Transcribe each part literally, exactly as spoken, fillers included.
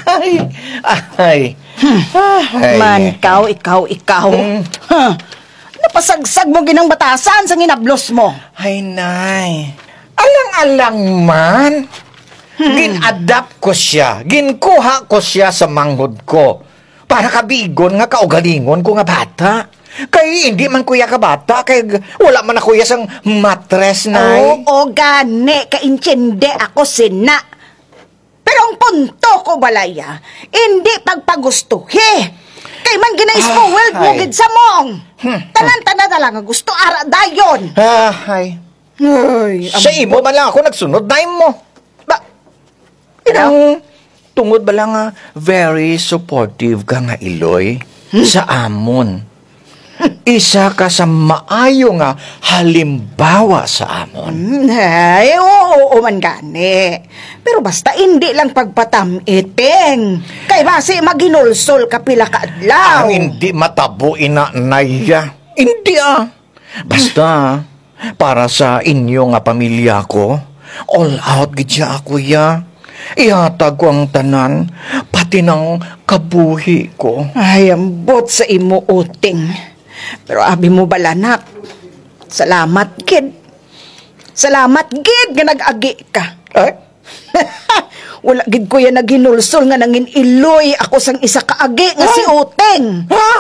Ay, ay. Ay. Man, ikaw, ikaw, ikaw. Hmm. Huh. Napasagsag mo ginang batasan sa ginablos mo. Ay, nay. Alang-alang man. Hmm. Gin-adapt ko siya. Ginkuha ko siya sa manghod ko. Para kabigon nga kaugalingon ko nga bata. Kay hindi man ko iya kabata, kay g-, wala man ako iya sang matres, nay. Oo, gani, kaintindi ako sina. Pero ang punto ko, balaya, hindi pagpagustuhi. Kay man gina-spoiled mo Ay. gid sa mong. Hmm. Tanan-tanan na lang nga gusto ara dayon. Ah, ay. Ay, Sa am- imo man lang ako nagsunod, na mo. Ba, Ano? Ang tungod ba lang nga very supportive ka nga iloy Hmm. sa amon? Isa ka sa maayo nga halimbawa sa amon. Hmm, ay, oo, oo man gani. Pero basta hindi lang pagpatam-iting. Kay basi maghinulsol ka pila ka adlaw. Ang hindi matabo ina, nay, ah. Hindi, ah. Basta, para sa inyo nga pamilya ko, all out gid siya ako, ya. Ihatag ko ang tanan, pati nang kabuhi ko. Ay, ambot sa imo, Uting. Pero abi mo bala, nak. Salamat gid. Salamat gid nga nag-agi ka. Ay? Wala gid ko yan naghinulsol nga nangin-iloy ako sang isa ka agi nga si Ay. Uting.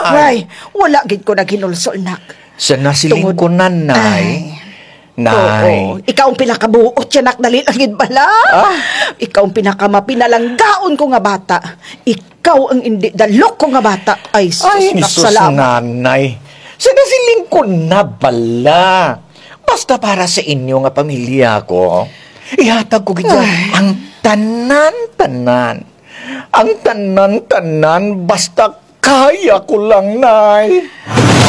Ay. Ay, wala gid ko naghinulsol, nak. Sa nasiling Tungod ko na, Nay. Ay. Nay. Oo. Ikaw ang pinakabuot siya, nak. Dali lang gid bala. Ah. Ikaw ang pinakamapinalanggaon ko nga bata. Ikaw ang indi dalok ko nga bata. Ay, sus, Ay, nak, sus, salamat. Nanay. Sa nasiling ko na bala. Basta para sa inyo nga pamilya ko, ihatag ko gid Ay. ang tanan-tanan. Ang tanan-tanan, basta kaya ko lang, Nay.